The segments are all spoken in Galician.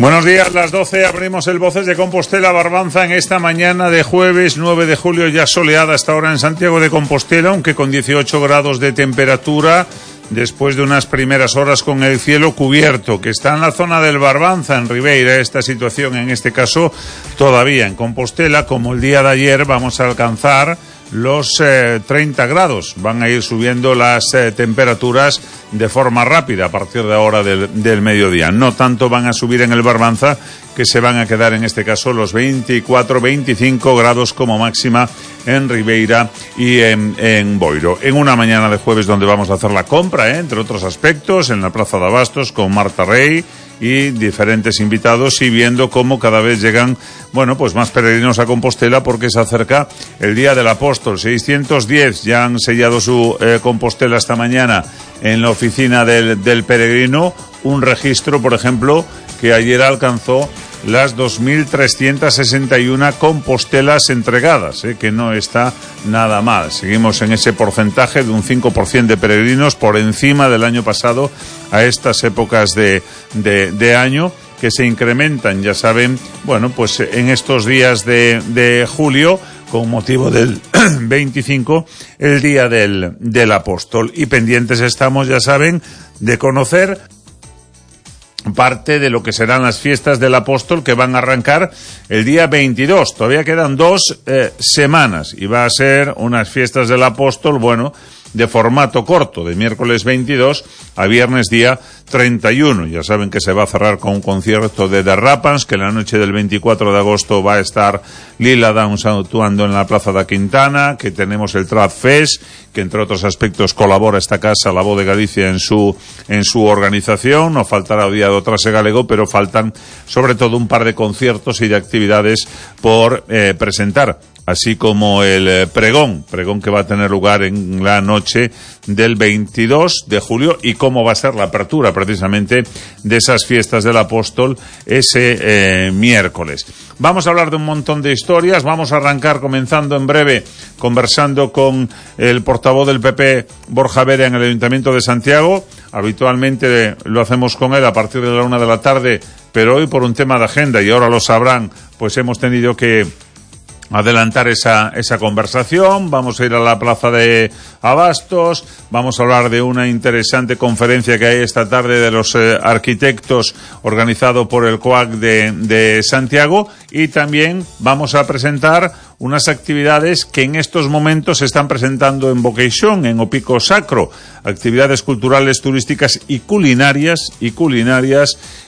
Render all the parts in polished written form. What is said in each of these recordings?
Buenos días, las 12, abrimos el Voces de Compostela Barbanza en esta mañana de jueves 9 de julio, ya soleada hasta ahora en Santiago de Compostela, aunque con 18 grados de temperatura, después de unas primeras horas con el cielo cubierto, que está en la zona del Barbanza, en Ribeira. Esta situación, en este caso, todavía en Compostela, como el día de ayer, vamos a alcanzar los 30 grados. Van a ir subiendo las temperaturas de forma rápida a partir de ahora del mediodía. No tanto van a subir en el Barbanza, que se van a quedar en este caso los 24-25 grados como máxima en Ribeira y en Boiro. En una mañana de jueves donde vamos a hacer la compra, entre otros aspectos, en la Plaza de Abastos con Marta Rey y diferentes invitados, y viendo cómo cada vez llegan, pues más peregrinos a Compostela, porque se acerca el Día del Apóstol. 610 ya han sellado su Compostela esta mañana en la oficina del peregrino, un registro, por ejemplo, que ayer alcanzó las 2.361 compostelas entregadas, que no está nada mal. Seguimos en ese porcentaje de un 5% de peregrinos por encima del año pasado a estas épocas de año, que se incrementan, ya saben, en estos días de julio, con motivo del 25, el Día del Apóstol. Y pendientes estamos, ya saben, de conocer parte de lo que serán las fiestas del Apóstol, que van a arrancar el día 22. Todavía quedan 2 semanas y va a ser unas fiestas del Apóstol, de formato corto, de miércoles 22 a viernes día 31. Ya saben que se va a cerrar con un concierto de The Rapans, que la noche del 24 de agosto va a estar Lila Downs actuando en la Plaza da Quintana, que tenemos el Trad Fest, que entre otros aspectos colabora esta casa, La Voz de Galicia, en su organización. No faltará o día do Trase Galego, pero faltan sobre todo un par de conciertos y de actividades por presentar, así como el pregón que va a tener lugar en la noche del 22 de julio, y cómo va a ser la apertura precisamente de esas fiestas del Apóstol ese miércoles. Vamos a hablar de un montón de historias. Vamos a arrancar comenzando en breve conversando con el portavoz del PP, Borja Vera, en el Ayuntamiento de Santiago. Habitualmente lo hacemos con él a partir de la 1 de la tarde, pero hoy por un tema de agenda, y ahora lo sabrán, hemos tenido que adelantar esa conversación. Vamos a ir a la Plaza de Abastos, vamos a hablar de una interesante conferencia que hay esta tarde de los arquitectos, organizado por el COAC de Santiago, y también vamos a presentar unas actividades que en estos momentos se están presentando en Boqueixón, en O Pico Sacro, actividades culturales, turísticas y culinarias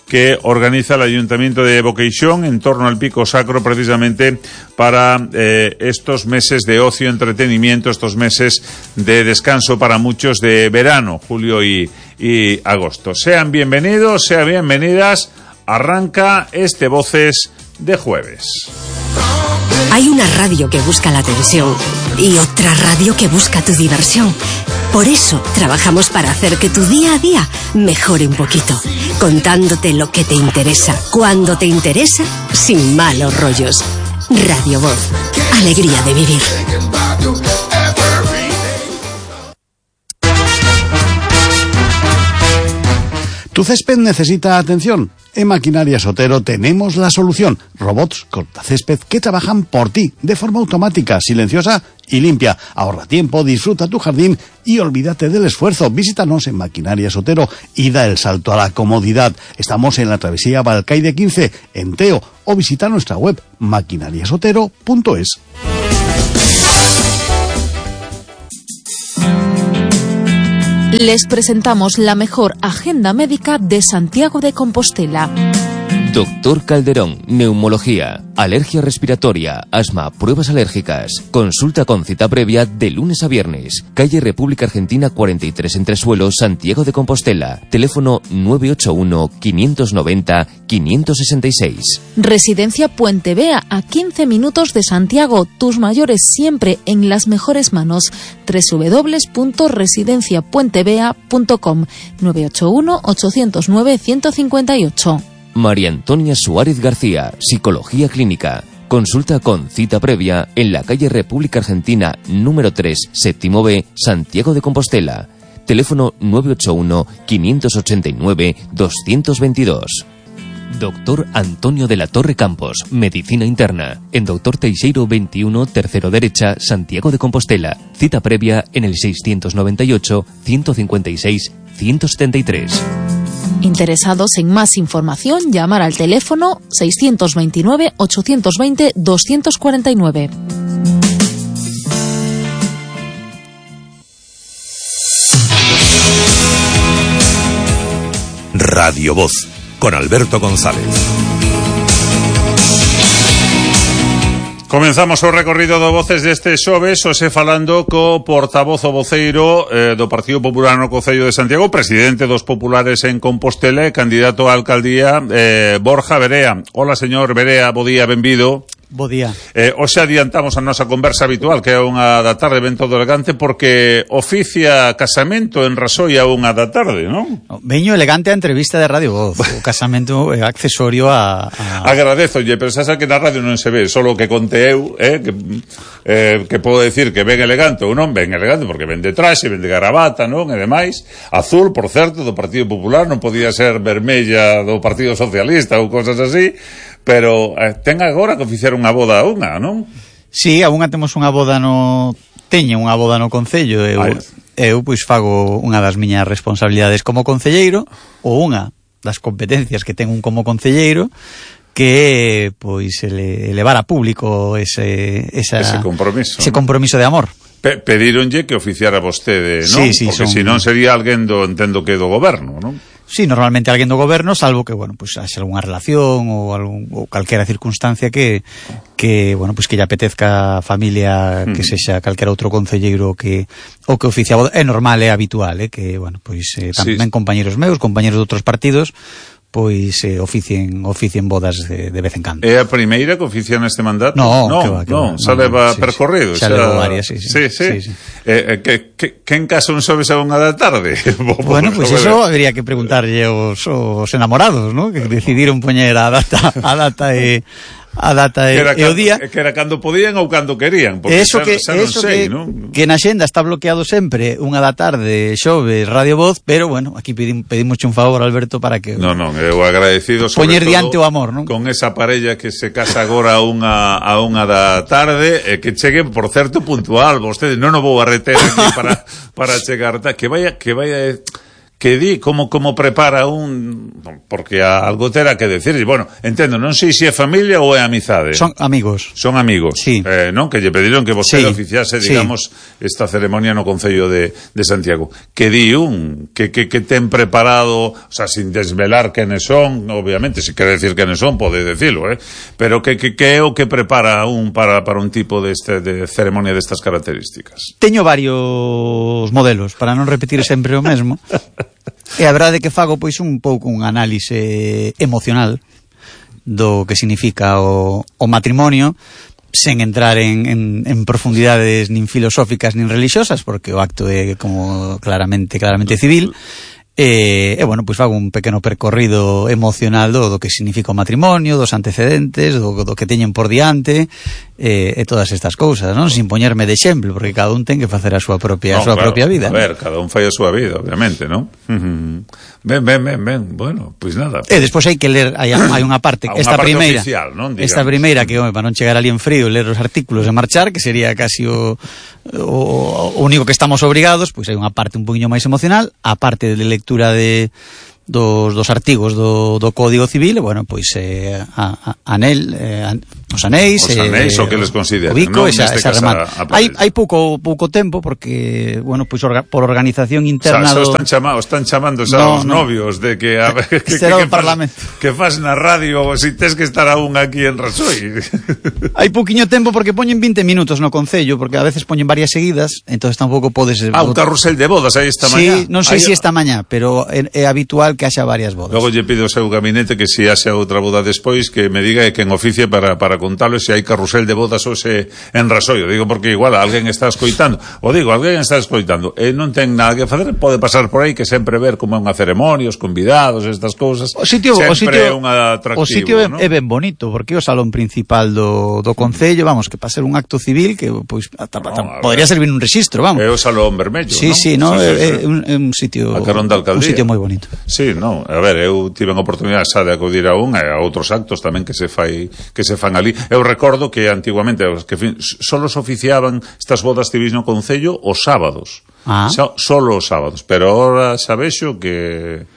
que organiza el Ayuntamiento de Boqueixón en torno al Pico Sacro, precisamente para estos meses de ocio, entretenimiento, estos meses de descanso para muchos de verano, julio y agosto. Sean bienvenidos, sean bienvenidas. Arranca este Voces de jueves. Hay una radio que busca la atención y otra radio que busca tu diversión. Por eso trabajamos para hacer que tu día a día mejore un poquito, contándote lo que te interesa, cuando te interesa, sin malos rollos. Radio Voz, alegría de vivir. ¿Tu césped necesita atención? En Maquinarias Otero tenemos la solución. Robots cortacésped que trabajan por ti, de forma automática, silenciosa y limpia. Ahorra tiempo, disfruta tu jardín y olvídate del esfuerzo. Visítanos en Maquinarias Otero y da el salto a la comodidad. Estamos en la travesía Balcaide 15, en Teo, o visita nuestra web maquinariasotero.es. Les presentamos la mejor agenda médica de Santiago de Compostela. Doctor Calderón, neumología, alergia respiratoria, asma, pruebas alérgicas. Consulta con cita previa de lunes a viernes. Calle República Argentina 43 Entresuelos, Santiago de Compostela. Teléfono 981-590-566. Residencia Puente Vea, a 15 minutos de Santiago. Tus mayores siempre en las mejores manos. www.residenciapuentevea.com 981-809-158. María Antonia Suárez García, Psicología Clínica. Consulta con cita previa en la calle República Argentina número 3, séptimo B, Santiago de Compostela. Teléfono 981-589-222. Doctor Antonio de la Torre Campos, Medicina Interna, en Doctor Teixeiro 21, tercero derecha, Santiago de Compostela. Cita previa en el 628-156-173. Interesados en más información, llamar al teléfono 629-820-249. Radio Voz, con Alberto González. Comenzamos o recorrido de voces deste xoves, hoxe falando co portavoz o voceiro do Partido Popular no Concello de Santiago, presidente dos populares en Compostela e candidato á alcaldía, Borja Verea. Hola, señor Verea, bo día, benvido. Bo día. Hoxe adiantamos a nosa conversa habitual, que é unha da tarde ben todo elegante, porque oficia casamento en Rasoi a unha da tarde, non? Veño elegante a entrevista de Radio Voz. O casamento é accesorio a... Agradezolle, pero xa que na radio non se ve, solo que conte eu, que podo decir que ven elegante ou non ven elegante, porque ven de traxe, ven de gravata, non? E demais. Azul, por certo, do Partido Popular, non podía ser vermella do Partido Socialista ou cosas así. Pero ten agora que oficiar unha boda a unha, non? Sí, a unha temos unha boda teño unha boda no Concello. Eu pois fago unha das miñas responsabilidades como concelleiro, ou unha das competencias que ten un como concelleiro, que pois elevar a público ese compromiso de amor. Pedíronlle que oficiara vostede, non? Sí, porque senón sería alguén entendo que do goberno, non? Sí, normalmente alguén do goberno, salvo que, bueno, pues haxe algunha relación ou calquera circunstancia que bueno, pues que lle apetezca a familia que sexa calquera outro concelleiro que oficia a boda. É normal, é habitual, que, bueno, pues tamén compañeros meus, compañeros de outros partidos, pois oficien bodas de vez en cando. É a primeira que oficia neste mandato? Non, xa leva percorrido. Xa leva varias, sí. Quen casa un xoves a unha da tarde? Bueno, pois eso habría que preguntarlle aos enamorados, ¿no? Que decidiron poñer a data e o día. Que era cando podían ou cando querían, porque eso non sei, non? Que na xenda está bloqueado sempre unha da tarde, xoves, Radio Voz, pero bueno, aquí pedimos un favor, Alberto, para que Non, eu agradecido sobre poñer diante o amor, non? Con esa parella que se casa agora a unha da tarde, e que chegue, por certo, puntual. Vostede non o vou a reter aquí para chegar, que vaya que di como prepara porque algo terá que decir. Bueno, entendo, non sei se é familia ou é amizade. Son amigos. Sí. Non? Que lle pediron que vostede oficiase, digamos, esta ceremonia no Concello de Santiago. Que di que ten preparado, o sea, sin desvelar quenes son, obviamente, se quere decir quenes son, pode decirlo, pero que é o que prepara para un tipo de ceremonia destas características. Teño varios modelos, para non repetir sempre o mesmo. E a verdade que fago pois un pouco un análise emocional do que significa o matrimonio, sen entrar en profundidades nin filosóficas nin religiosas, porque o acto é como claramente civil. E bueno, pois fago un pequeno percorrido emocional do que significa o matrimonio, dos antecedentes, do que teñen por diante, e todas estas cousas, non? Sin poñerme de exemplo, porque cada un ten que facer a súa propia vida. A ver, cada un fai a súa vida, obviamente, non? Ben, bueno, pois nada. E despois hai que ler, hai unha parte, esta primeira oficial, non? Esta primeira que, para non chegar ali en frío, ler os artículos e marchar, que sería casi o único que estamos obrigados, pois hai unha parte un poquinho máis emocional, a parte de lectura dos artigos do Código Civil, e, bueno, pois os anéis, o que les consideran, o bico, non? esa remata. Hai pouco tempo, porque, bueno, pois por organización interna están chamando xa os novios de que a ver, que fas na radio si tes que estar aún aquí en Rasoi. Hai pouquiño tempo porque poñen 20 minutos no Concello, porque a veces poñen varias seguidas, entonces tampouco podes... un carrusel de bodas aí esta mañá. Sí, non sei se esta mañá, pero é habitual que haxa varias bodas. Logo lle pido ao seu gabinete que se haxa outra boda despois, que me diga quen oficia para contalo se hai carrusel de bodas hoxe en Rasoio. Digo porque igual alguén está escoitando, e non ten nada que facer, pode pasar por aí que sempre ver como é unha ceremonia, os convidados, estas cousas. O sitio sempre é un atractivo. O sitio ¿no? é ben bonito, porque é o salón principal do concello, vamos, que para ser un acto civil que pois podría servir un rexistro, vamos. É o salón vermello, sí, non? É un sitio, a carón da alcaldía. Un sitio moi bonito. Sí, non, a ver, eu tive a oportunidade xa de acudir a un e a outros actos tamén que se fan ali. Eu recordo que antiguamente solo se oficiaban estas bodas civis no concello os sábados. Solo os sábados, pero ahora xa vexo que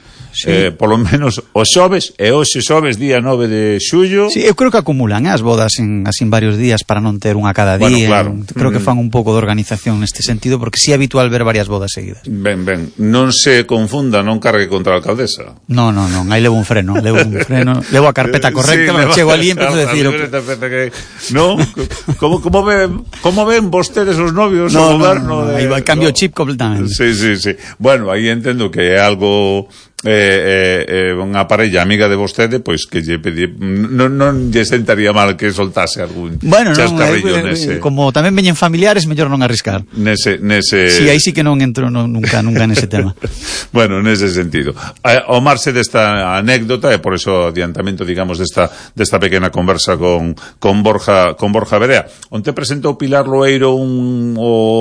polo menos os xoves, e hoxe xoves día 9 de xullo. Sí, eu creo que acumulan as bodas en varios días para non ter unha cada día. Claro. Creo que fan un pouco de organización neste sentido, porque si é habitual ver varias bodas seguidas. Ben, non se confunda, non cargue contra a alcaldesa. Non, aí levo un freno, levo a carpeta correcta, chego ali e empezo a decir non, como ven vostedes os novios o goberno aí va, cambio chip completamente. Sí. Bueno, aí entendo que é algo unha parella amiga de vostede, pois que lle pedi, non lle sentaría mal que soltase algún chascarrillo nese. Como tamén veñen familiares, mellor non arriscar. Nese Si, aí sí que non entro nunca nese tema. Bueno, nese sentido. Ao marxe desta anécdota, e por eso adiantamento, digamos, desta pequena conversa con Borja Verea, onte presentou Pilar Loeiro non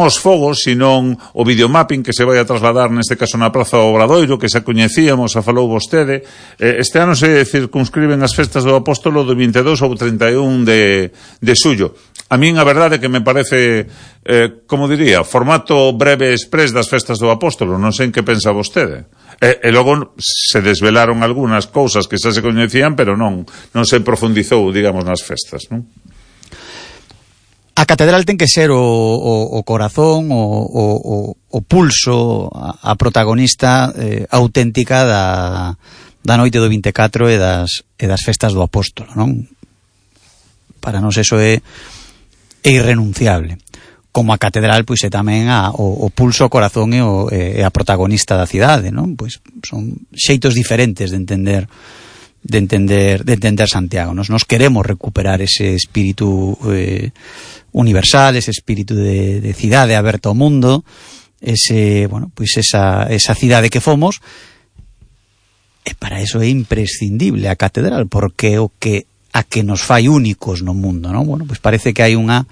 os fogos, sino o videomapping que se vai a trasladar neste caso na Praza Obradoiro, que xa coñecíamos, a falou vostede. Este ano se circunscriben as festas do Apóstolo do 22 ao 31 de xullo. A min a verdade que me parece, como diría, formato breve express das festas do Apóstolo. Non sei en que pensa vostede. E logo se desvelaron algunhas cousas que xa se coñecían, pero non se profundizou, digamos, nas festas, non? A catedral ten que ser o corazón, o pulso, a protagonista auténtica da noite do 24 e das festas do Apóstolo, non? Para nós eso é irrenunciable. Como a catedral, pois é tamén o pulso, o corazón e a protagonista da cidade, non? Pois son xeitos diferentes de entender Santiago. Nos queremos recuperar ese espírito universal, ese espírito de cidade aberta ao mundo, esa cidade que fomos, e para eso é imprescindible a catedral, porque o que a que nos fai únicos no mundo, non? Bueno, pois parece que hai unha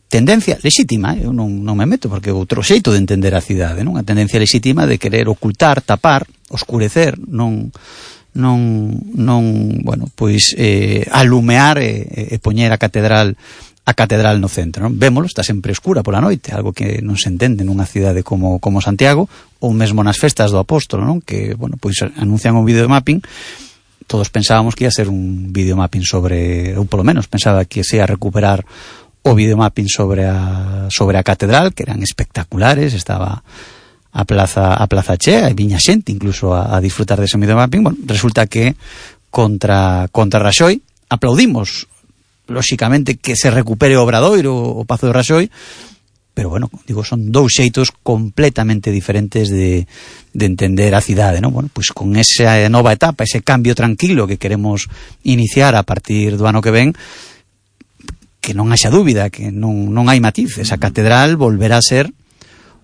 tendencia lexítima, eu non me meto porque é outro xeito de entender a cidade, non? A tendencia lexítima de querer ocultar, tapar, oscurecer, alumear e poñer a catedral no centro, non? Vémolo, está sempre escura pola noite, algo que non se entende nunha cidade como Santiago, ou mesmo nas festas do Apóstolo, non? Que, pois anuncian un videomapping. Todos pensábamos que ia ser un videomapping eu polo menos pensaba que se ia recuperar o videomapping sobre a catedral, que eran espectaculares, estaba a plaza chea, e viña xente incluso a disfrutar dese videomapping. Bueno, resulta que contra Raxoi aplaudimos, lóxicamente, que se recupere o Obradoiro, o Pazo de Raxoi, pero bueno, digo, son dous xeitos completamente diferentes de entender a cidade, non? Bueno, pois con esa nova etapa, ese cambio tranquilo que queremos iniciar a partir do ano que ven, que non haxa dúbida, que non hai matiz, esa catedral volverá a ser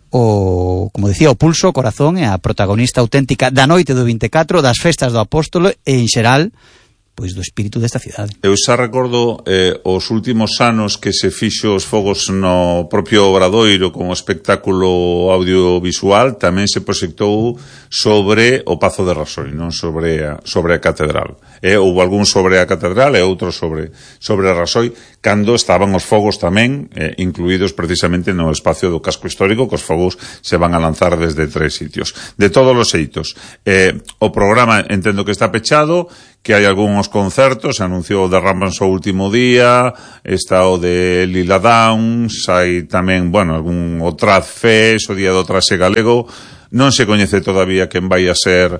como decía, o pulso, o corazón e a protagonista auténtica da noite do 24, das festas do Apóstolo e en xeral pois do espírito desta cidade. Eu xa recordo os últimos anos que se fixo os fogos no propio Obradoiro con o espectáculo audiovisual, tamén se proxectou sobre o Pazo de Raxoi, non sobre a catedral. Houve algún sobre a catedral e outro sobre a Raxoi, cando estaban os fogos tamén incluídos precisamente no espacio do casco histórico, que os fogos se van a lanzar desde 3 sitios. De todos os xeitos, o programa entendo que está pechado, que hai algúns concertos, se anunciou o de Rambanzo o último día, está o de Lila Downs, hai tamén, algún o Traz Fest, o día do Traxe Galego, non se coñece todavía quen vai a ser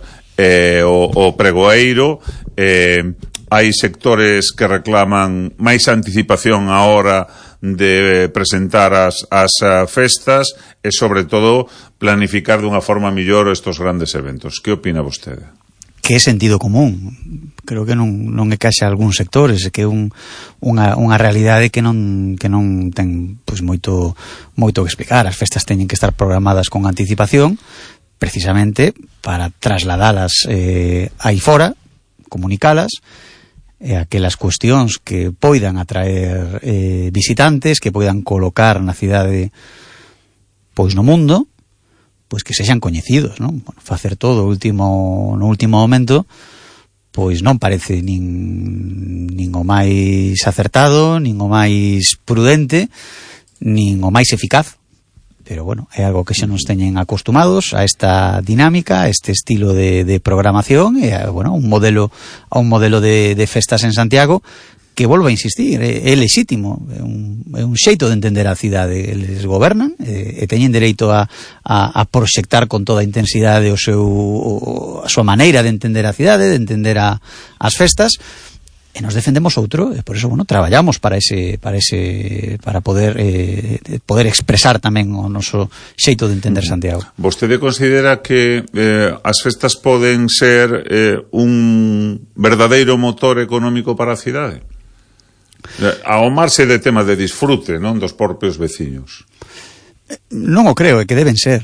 o pregoeiro, hai sectores que reclaman máis anticipación á hora de presentar as festas e, sobre todo, planificar dunha forma mellor estos grandes eventos. Que opina vostede? que é sentido común. Creo que non encaixa algúns sectores, que é unha realidade que non ten pois moito que explicar. As festas teñen que estar programadas con anticipación, precisamente para trasladalas aí fora, comunicalas, aquelas cuestións que poidan atraer visitantes, que poidan colocar na cidade pois no mundo, pois que sexan coñecidos, non? Bueno, facer todo no último momento pois non parece nin o máis acertado, nin o máis prudente, nin o máis eficaz. Pero bueno, é algo que xa nos teñen acostumados a esta dinámica, a este estilo de programación, e bueno, un modelo de festas en Santiago que, volvo a insistir, é lexítimo, é un xeito de entender a cidade. Eles gobernan e teñen dereito a proxectar con toda a intensidade a súa maneira de entender a cidade, de entender as festas, e nos defendemos outro, e por eso, bueno, traballamos para poder expresar tamén o noso xeito de entender Santiago. Vostede considera que as festas poden ser un verdadeiro motor económico para a cidade? Ao marxe de temas de disfrute, non, dos propios veciños. Non o creo, é que deben ser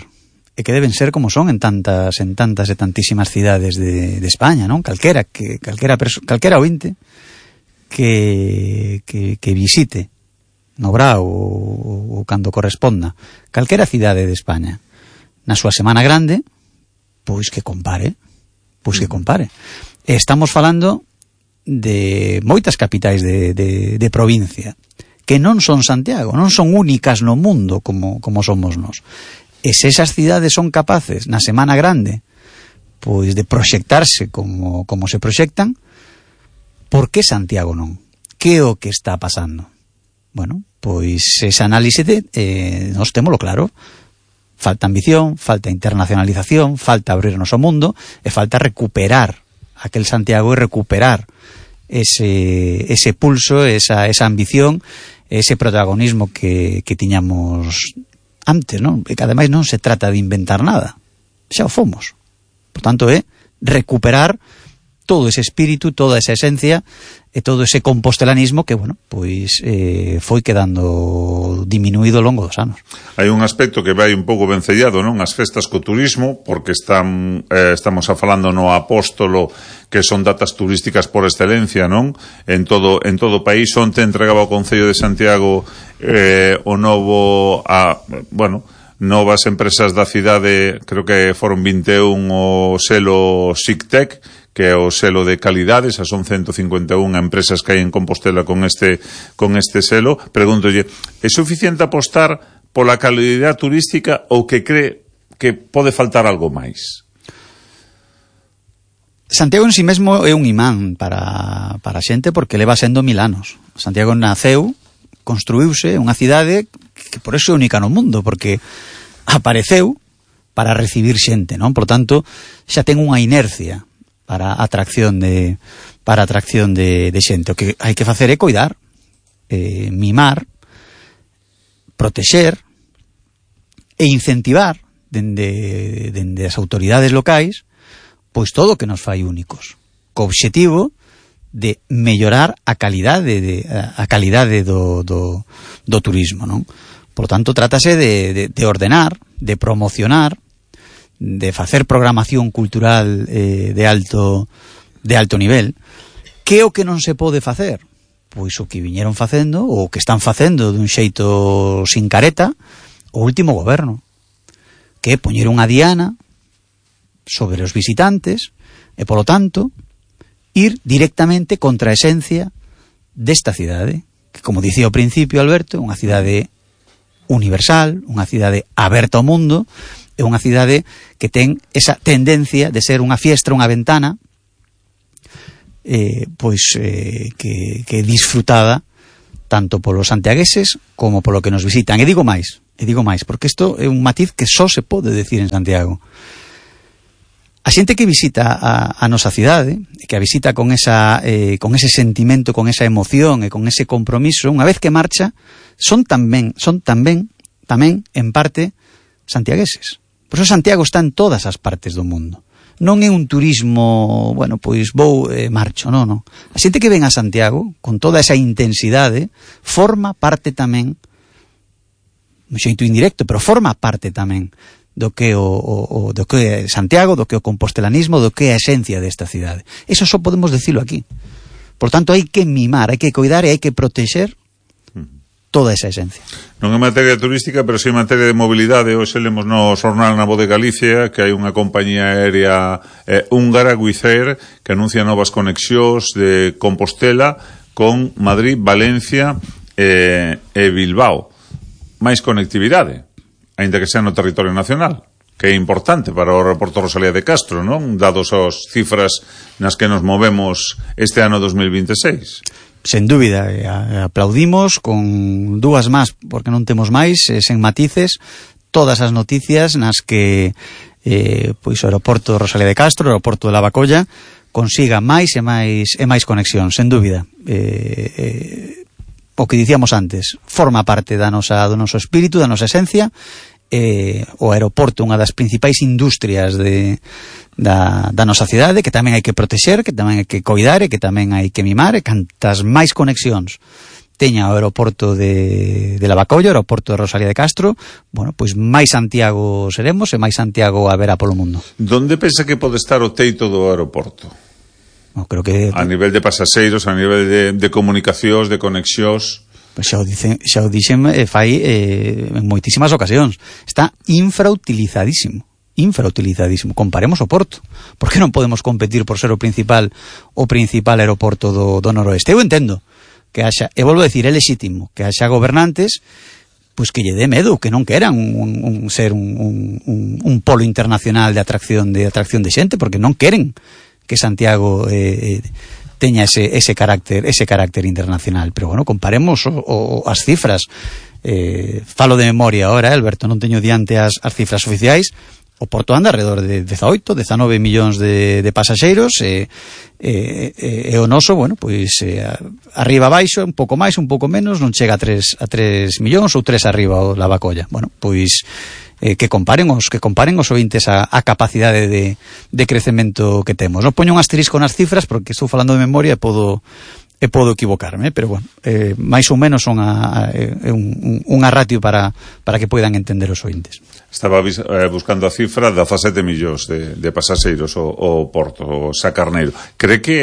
como son en tantas e tantísimas cidades de España, non? Calquera ointe que visite no Brao ou cando corresponda calquera cidade de España na súa semana grande, pois que compare. Estamos falando de moitas capitais de provincia que non son Santiago, non son únicas no mundo como somos nós. E se esas cidades son capaces na semana grande pois de proxectarse como se proxectan, por que Santiago non? Que é o que está pasando? Bueno, pois esa análise nós témolo claro. Falta ambición, falta internacionalización, falta abrirnos ao mundo e falta recuperar aquel Santiago e recuperar ese pulso, esa ambición, ese protagonismo que tiñamos antes, non? E que ademais non se trata de inventar nada, xa o fomos. Por tanto, é recuperar todo ese espírito, toda esa esencia e todo ese compostelanismo que, bueno, pois foi quedando diminuído ao longo dos anos. Hai un aspecto que vai un pouco vencellado, non? As festas co turismo, porque estamos falando no Apóstolo, que son datas turísticas por excelencia, non? En todo o país. Onte entregaba o Concello de Santiago o novo novas empresas da cidade, creo que foron 21 o selo SICTEC, que é o selo de calidades, son 151 empresas que hai en Compostela con este selo. Pregúntolle, é suficiente apostar pola calidade turística ou que cree que pode faltar algo máis? Santiago en si mesmo é un imán para a xente porque leva sendo 1000 anos. Santiago naceu, construíuse, unha cidade que por eso é única no mundo, porque apareceu para recibir xente, non? Por tanto, xa ten unha inercia para atracción de xente. O que hai que facer é coidar, mimar, protexer e incentivar dende as autoridades locais pois todo o que nos fai únicos, co obxectivo de mellorar a calidade do turismo, non? Por tanto, trátase de ordenar, de promocionar, de facer programación cultural de alto nivel. Que é o que non se pode facer? Pois o que viñeron facendo, ou o que están facendo dun xeito sin careta, o último goberno, que é poñer unha diana sobre os visitantes e, polo tanto, ir directamente contra a esencia desta cidade, que, como dicía ao principio Alberto, unha cidade universal, unha cidade aberta ao mundo, é unha cidade que ten esa tendencia de ser unha fiestra, unha ventana, que é disfrutada tanto polos santiagueses como polo que nos visitan. E digo máis, porque isto é un matiz que só se pode decir en Santiago. A xente que visita a nosa cidade, que a visita con ese sentimento, con esa emoción e con ese compromiso, unha vez que marcha, son tamén en parte santiagueses. Por eso Santiago está en todas as partes do mundo. non é un turismo, bueno, pois vou marcho, non. A xente que ven a Santiago, con toda esa intensidade, forma parte tamén, un xeito indirecto, pero forma parte tamén do que do que é Santiago, do que é o compostelanismo, do que é a esencia desta cidade. Eso só podemos decirlo aquí. Por tanto, hai que mimar, hai que coidar e hai que protexer toda esa esencia. Non é materia turística, pero si en materia de mobilidade. Hoxe lemos no xornal Na Voz de Galicia que hai unha compañía aérea húngara, Wizz Air, que anuncia novas conexións de Compostela con Madrid, Valencia e Bilbao. Máis conectividade, aínda que sea no territorio nacional, que é importante para o aeroporto Rosalía de Castro, non? Dados as cifras nas que nos movemos este ano 2026. Sen dúbida, aplaudimos con dúas más, porque non temos máis, sen matices, todas as noticias nas que pois o aeroporto Rosalía de Castro, o aeroporto de Lavacolla, consiga máis e máis conexión, sen dúbida. O que dicíamos antes, forma parte do noso espírito, da nosa esencia. O aeroporto, unha das principais industrias da nosa cidade, que tamén hai que protexer, que tamén hai que coidar e que tamén hai que mimar, e cantas máis conexións teña o aeroporto de Lavacolla, o aeroporto de Rosalía de Castro, bueno, pois máis Santiago seremos e máis Santiago haberá polo mundo. Donde pensa que pode estar o teito do aeroporto? Creo que a nivel de pasaxeiros, a nivel de comunicacións, de conexións. Xa o dixen fai en moitísimas ocasións. Está infrautilizadísimo. Comparemos o Porto. Por que non podemos competir por ser o principal aeroporto do noroeste? Eu entendo que haxa, e volvo a decir, é lexítimo que haxa gobernantes pois que lle dé medo, que non queran ser un polo internacional de atracción de xente, porque non queren que Santiago teña ese carácter internacional. Pero bueno, comparemos as cifras. Falo de memoria ahora, Alberto, non teño diante as cifras oficiais. O Porto anda alrededor de 18, 19 millóns de pasaxeiros, e o noso, bueno, pois arriba abaixo, un pouco máis, un pouco menos, non chega a 3 millóns ou 3 arriba o Lavacolla. Bueno, pois que comparen os ointes a capacidade de crecemento que temos. Non poño un asterisco nas cifras porque estou falando de memoria e podo equivocarme, pero bueno, máis ou menos son unha ratio para que poidan entender os ointes. Estaba buscando a cifra de 17 millóns de pasaxeiros o Porto, o Sacarneiro. Cree que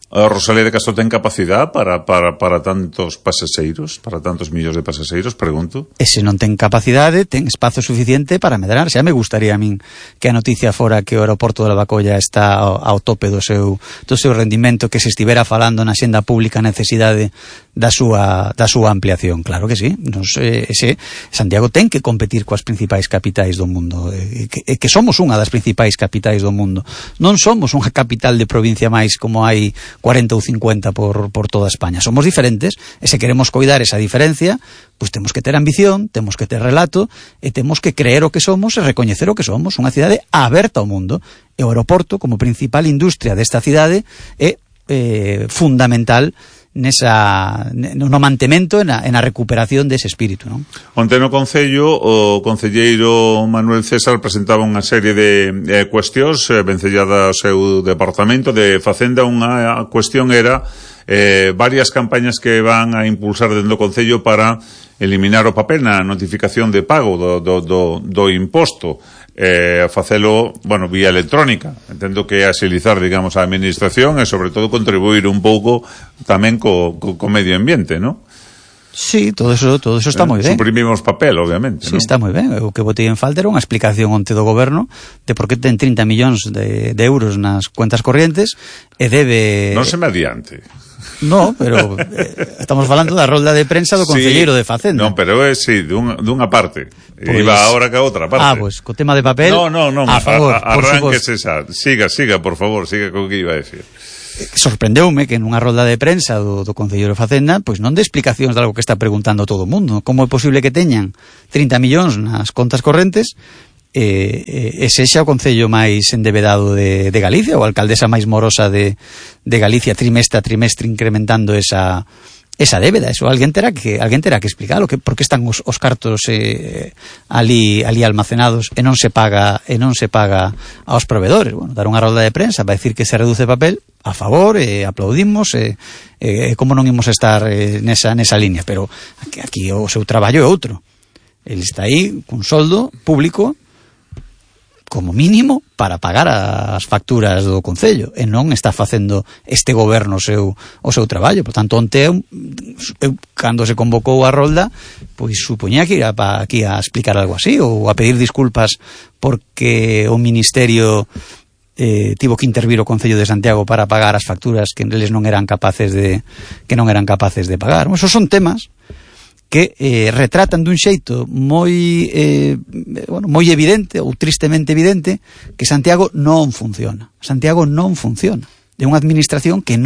a Rosalía de Castro ten capacidade para tantos pasaxeiros, para tantos millóns de pasaxeiros, pregunto? E se non ten capacidade, ten espazo suficiente para medrar. Xa me gustaría a min que a noticia fora que o aeroporto de Lavacolla está ao tope do seu rendimento, que se estivera falando na xenda pública a necesidade da súa ampliación. Claro que sí. Santiago ten que competir coas principais capitais do mundo, que somos unha das principais capitais do mundo. Non somos unha capital de provincia máis como hai 40 ou 50 por toda España. Somos diferentes, e se queremos coidar esa diferencia, pois temos que ter ambición, temos que ter relato, e temos que creer o que somos e recoñecer o que somos, unha cidade aberta ao mundo. E o aeroporto, como principal industria desta cidade, é fundamental no mantemento e na recuperación dese espírito, non? Onte no Concello, o concelleiro Manuel César presentaba unha serie de cuestións vencelladas ao seu departamento de Facenda. Unha cuestión era varias campañas que van a impulsar dentro do Concello para eliminar o papel na notificación de pago do imposto, facelo, bueno, vía electrónica. Entendo que é axilizar, digamos, a administración e sobre todo contribuir un pouco tamén co medio ambiente, non? Sí, todo eso está moi ben. Suprimimos papel, obviamente, sí, ¿no? Está moi ben. O que botei en falta era unha explicación onte do goberno de por que ten 30 millóns de euros nas cuentas corrientes e debe... Non se me adiante. No, pero estamos falando da rolda de prensa do concelleiro de Facenda. Non, pero sí, dunha parte. Pues, iba agora que a outra parte. Pues, co tema de papel... No, a favor, arránquese esa. Siga, por favor, siga co que iba a decir. Sorprendeume que nunha rolda de prensa do concelleiro de Facenda, pois non de explicacións de algo que está preguntando todo o mundo. Como é posible que teñan 30 millóns nas contas correntes e sexa o concello máis endevedado de Galicia, ou a alcaldesa máis morosa de Galicia, trimestre a trimestre incrementando esa esa débeda, eso alguén terá que explicalo, que por que están os cartos ali almacenados e non se paga aos proveedores. Bueno, dar unha rolda de prensa para decir que se reduce papel, a favor, aplaudimos, como non imos estar nesa línea, pero aquí o seu traballo é outro. Ele está aí cun soldo público como mínimo para pagar as facturas do Concello, e non está facendo este goberno o seu traballo. Por tanto, onte eu cando se convocou a rolda, pois supoñía que ia aquí a explicar algo así, ou a pedir disculpas porque o Ministerio tivo que intervir o Concello de Santiago para pagar as facturas que eles non eran capaces de pagar. Esos son temas que retratan dun xeito moi evidente, ou tristemente evidente, que Santiago non funciona. Santiago non funciona. É unha administración que non